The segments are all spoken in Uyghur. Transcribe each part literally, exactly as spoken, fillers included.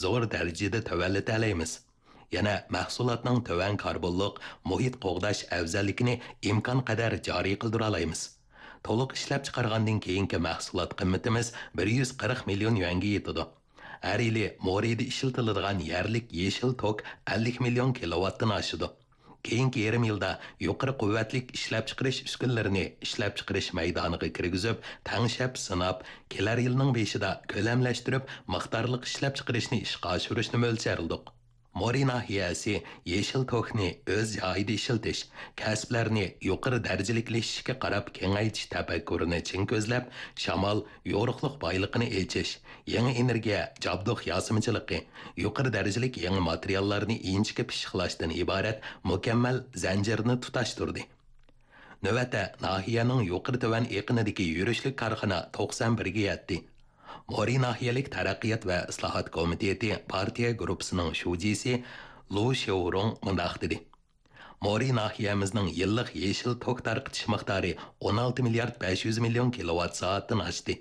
زور دەرىجىدە تۆۋەنلىتەلەيمىز. يەنە مەھسۇلاتنىڭ تۆۋەن كاربونلۇق، مۇھىت قوغداش ئەۋزەللىكىنى ئىمكانقەدەر جارى قىلدۇرالايمىز. تولۇق ئىشلەپچىقارغاندىن كېيىنكى مەھسۇلات قىممىتىمىز بىر يۈز قىرىق مىليون يۈەنگە يېتىدۇ. ھەر يىلى مورىدا ئىشلىتىلىدىغان يەرلىك يېشىل توك ئەللىك مىليون كىلوۋاتتىن ئاشىدۇ. كېيىنكى يېرىم يىلدا يۇقىرى قۇۋۋەتلىك ئىشلەپچىقىرىش ئۈسكۈنىلىرىنى ئىشلەپچىقىرىش مەيدانىغا كىرگۈزۈپ، تەڭشەپ سىناپ، كېلەر يىلنىڭ بېشىدا كۆلەملەشتۈرۈپ، مىقدارلىق ئىشلەپچىقىرىشنى ئىشقا ئاشۇرۇشنى مۆلچەرلىدۇق. مورى ناھىيەسى يېشىل توكنى ئۆز جايىدا ئىشلىتىش، كەسىپلەرنى يۇقىرى دەرىجىلىكلىشىشكە قاراپ كېڭەيتىش تەپەككۇرىنى چىڭ كۆزلەپ، شامال، يورۇقلۇق بايلىقىنى ئېچىش، يېڭى ئېنېرگىيە، جابدۇق ياسىمىچىلىقى، يۇقىرى دەرىجىلىك يېڭى ماتېرىياللارنى ئىنچىكە پىششىقلاشتىن ئىبارەت مۇكەممەل زەنجىرنى تۇتاشتۇردى. نۆۋەتتە ناھىيەنىڭ يۇقىرى تۆۋەن ئېقىنىدىكى يۈرۈشلۈك كارخانا توقسان بىرگە يەتتى. مورى ناھىيەلىك تەرەققىيات ۋە ئىسلاھات كومىتېتى پارتىيە گۇرۇپپىسىنىڭ شۇجىسى لۇ شياۋرۇڭ مۇنداق دېدى: مورى ناھىيەمىزنىڭ يىللىق يېشىل توك تارقىتىش مىقدارى ئون ئالتە مىليارد بەش يۈز مىليون كىلوۋات سائەتتىن ئاشتى.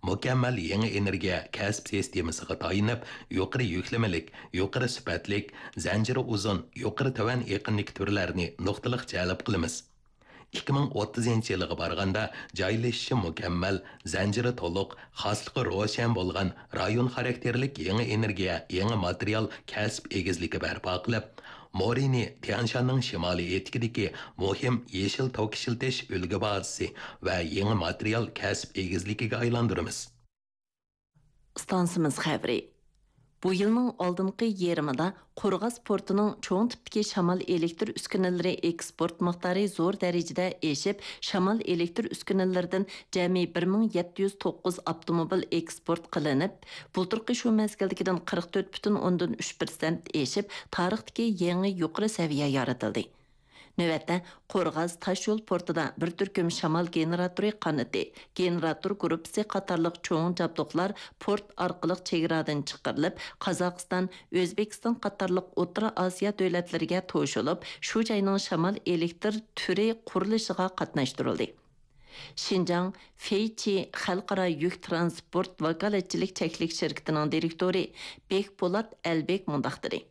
مۇكەممەل يېڭى ئېنېرگىيە كەسىپ سىستېمىسىغا تايىنىپ، يۇقىرى يۈكلىمىلىك، يۇقىرى سۈپەتلىك، زەنجىرى ئۇزۇن، يۇقىرى تۆۋەن ئېقىندىكى تۈرلەرنى نۇقتىلىق جەلپ قىلىمىز. ئىككى مىڭ ئوتتۇزىنچى يىلىغا بارغاندا، جايلىشىشى مۇكەممەل، زەنجىرى تولۇق، خاسلىقى روشەن بولغان رايون خاراكتېرلىك يېڭى ئېنېرگىيە، يېڭى ماتېرىيال كەسىپ ئېگىزلىكى بەرپا قىلىپ، مورىنى تيەنشاننىڭ شىمالىي ئېتىكىدىكى مۇھىم يېشىل توك ئىشلىتىش ئۈلگە بازىسى ۋە يېڭى ماتېرىيال كەسىپ ئېگىزلىكىگە ئايلاندۇرىمىز. ئىستانسىمىز خەۋىرى. بۇ يىلنىڭ ئالدىنقى يېرىمىدا قورغاس پورتىنىڭ چوڭ تىپتىكى شامال ئېلېكتر ئۈسكۈنىلىرى ئېكسپورت مىقدارى زور دەرىجىدە ئېشىپ، شامال ئېلېكتر ئۈسكۈنىلىرىدىن جەمئىي بىر مىڭ يەتتە يۈز توققۇز ئاپتوموبىل ئېكسپورت قىلىنىپ، بۇلتۇرقى شۇ مەزگىلدىكىدىن قىرىق تۆت پۈتۈن ئوندىن ئۈچ پىرسەنت ئېشىپ، تارىختىكى يېڭى يۇقىرى سەۋىيە يارىتىلدى. نۆۋەتتە، قورغاس تاشيول پورتىدا بىر تۈركۈم شامال گېنېراتورى قانىتى، گېنېراتور گۇرۇپپىسى قاتارلىق چوڭ جابدۇقلار پورت ئارقىلىق چېگرادىن چىقىرىلىپ، قازاقىستان، ئۆزبېكىستان قاتارلىق ئوتتۇرا ئاسىيا دۆلەتلىرىگە توشۇلۇپ، شۇ جاينىڭ شامال ئېلېكتر تۈرى قۇرۇلۇشىغا قاتناشتۇرۇلدى. شىنجاڭ فېيچى خەلقئارا يۈك تىرانسپورت ۋاكالەتچىلىك چەكلىك شىركىتىنىڭ دىرېكتورى بېكپولات ئەلبېك مۇنداق دېدى: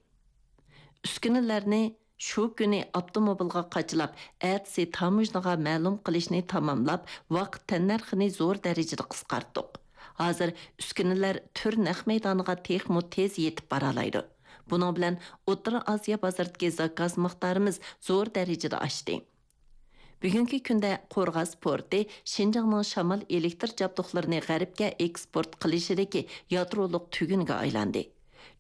ئۈسكۈنىلەرنى شۇ كۈنى ئاپتوموبىلغا قاچىلاپ، ئەتىسى تاموژنىغا مەلۇم قىلىشنى تاماملاپ، ۋاقىت تەننەرخىنى زور دەرىجىدە قىسقارتتۇق. ھازىر ئۈسكۈنىلەر تۈر نەق مەيدانىغا تېخىمۇ تېز يېتىپ بارالايدۇ. بۇنىڭ بىلەن ئوتتۇرا ئاسىيا بازىرىدىكى زاكاز مىقدارىمىز زور دەرىجىدە ئاشتى. بۈگۈنكى كۈندە قورغاس پورتى شىنجاڭنىڭ شامال ئېلېكتر جابدۇقلىرىنى غەربكە ئېكسپورت قىلىشىدىكى يادرولۇق تۈگۈنگە ئايلاندى.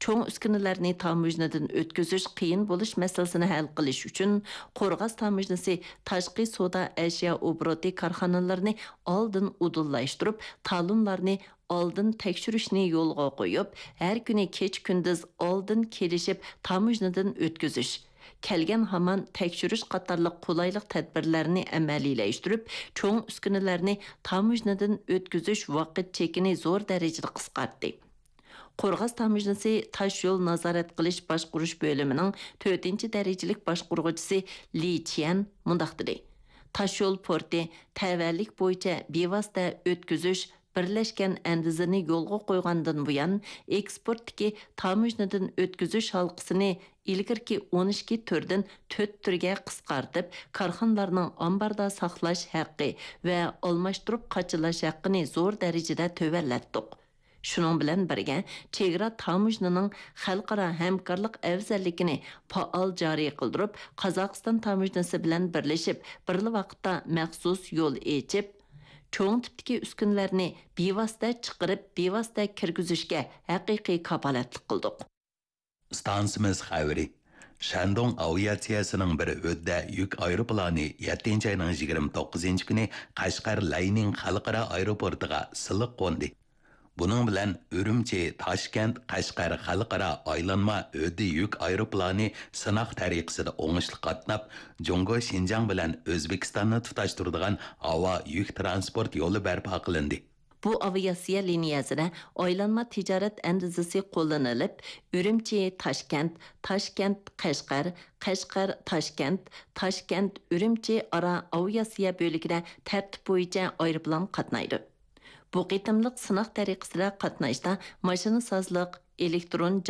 چوڭ ئۈسكۈنىلەرنى تاموژنىدىن ئۆتكۈزۈش قىيىن بولۇش مەسىلىسىنى ھەل قىلىش ئۈچۈن، قورغاس تاموژنىسى تاشقى سودا ئەشيا ئوبوروتى كارخانىلىرىنى ئالدىن ئۇدۇللاشتۇرۇپ، تالونلارنى ئالدىن تەكشۈرۈشنى يولغا قويۇپ، ھەر كۈنى كېچە-كۈندۈز ئالدىن كېلىشىپ تاموژنىدىن ئۆتكۈزۈش، كەلگەن ھامان تەكشۈرۈش قاتارلىق قولايلىق تەدبىرلەرنى ئەمەلىيلەشتۈرۈپ، چوڭ ئۈسكۈنىلەرنى تاموژنىدىن ئۆتكۈزۈش ۋاقىت چېكىنى زور دەرىجىدە قىسقارتتى. قورغاس تاموژنىسى تاشيول نازارەت قىلىش باشقۇرۇش بۆلۈمىنىڭ تۆتىنچى دەرىجىلىك باشقۇرغۇچىسى لى چيەن مۇنداق دېدى: تاشيول پورتى تەۋەلىك بويىچە بىۋاسىتە ئۆتكۈزۈش بىرلەشكەن ئەندىزىنى يولغا قويغاندىن بۇيان، ئېكسپورتتىكى تاموژنىدىن ئۆتكۈزۈش ھالقىسىنى ئىلگىرىكى ئون ئىككى تۈردىن تۆت تۈرگە قىسقارتىپ، كارخانىلارنىڭ ئامباردا ساقلاش ھەققى ۋە ئالماشتۇرۇپ قاچىلاش ھەققىنى زور دەرىجىدە تۆۋەنلەتتۇق. شۇنىڭ بىلەن بىرگە، چېگرا تاموژنىنىڭ خەلقئارا ھەمكارلىق ئەۋزەللىكىنى پائال جارى قىلدۇرۇپ، قازاقىستان تاموژنىسى بىلەن بىرلىشىپ، بىرلا ۋاقىتتا مەخسۇس يول ئېچىپ، چوڭ تىپتىكى ئۈسكۈنىلەرنى بىۋاسىتە چىقىرىپ، بىۋاسىتە كىرگۈزۈشكە ھەقىقىي كاپالەتلىك قىلدۇق. ئىستانسىمىز خەۋىرى. شەندۇڭ ئاۋىئاتسىيەسىنىڭ بىر ھۆددە يۈك ئايروپىلانى يەتتىنچى ئاينىڭ يىگىرمە توققۇزىنچى كۈنى قەشقەر لەينىڭ خەلقئارا ئايروپورتىغا سىلىق قوندى. بۇنىڭ بىلەن ئۈرۈمچى، تاشكەنت، قەشقەر خەلقئارا ئايلانما ھۆددە يۈك ئايروپىلانى سىناق تەرىقىسىدە ئوڭۇشلۇق قاتناپ، جۇڭگو شىنجاڭ بىلەن ئۆزبېكىستاننى تۇتاشتۇرىدىغان ھاۋا يۈك ترانسپورت يولى بەرپا قىلىندى. بۇ ئاۋىئاتسىيە لىنىيەسىدە ئايلانما تىجارەت ئەندىزىسى قوللىنىلىپ، ئۈرۈمچى، تاشكەنت، تاشكەنت، قەشقەر، قەشقەر، تاشكەنت، تاشكەنت، ئۈرۈمچى ئارا ئاۋىئاتسىيە بۆلىكىدە تەرتىپ بويىچە ئايروپىلان قاتنايدۇ. بۇ قېتىملىق سىناق تەرىقىسىدە قاتناشتا ماشىنىسازلىق، ئېلېكترون